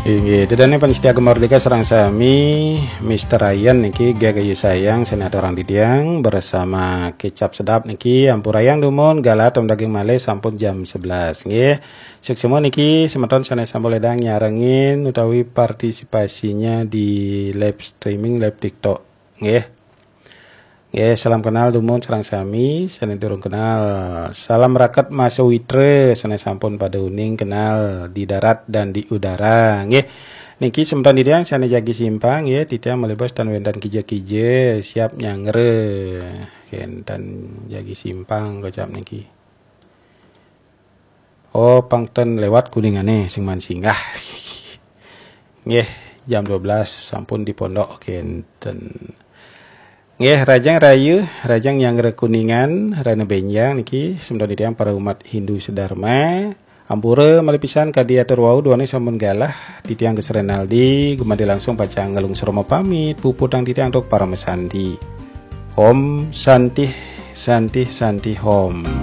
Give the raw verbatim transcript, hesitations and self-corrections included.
Inggih, ida dané pamiarsa Gema Merdeka sareng sami, Mister Ryan niki gagayu sayang sané aturang titiang bersama kecap sedap niki ampurayang dumun galah tom daging malih sampun jam sebelas nggih. Suksma niki semeton sané sampun ledang nyarengin utawi partisipasinya di live streaming live TikTok nggih. Nggih, salam kenal dumun sareng sami, sané durung kenal. Salam raket Mas Witra, sané sampun pada uning kenal di darat dan di udara. Nggih. Niki semeton titiang sané jagi simpang nggih, titiang malih bos tan wénten kija-kija siap nyanggra. Kénten jagi simpang kocap niki. Oh, pang ten lewat Kuningané sing man singgah. Nggih, jam dua belas sampun di pondok kénten. Nggih, rahajeng rahayu, rahajeng nyanggra Kuningan, rahina bénjang niki semeton titiang para umat Hindu sedharma. Ampura malih pisan kadi atur wau duaning sampun galah, titiang Gus Renaldi gumanti langsung pacang nglungsur pamit, puputang titiang antuk parama santi. Om Santih, Santih, Santih Om.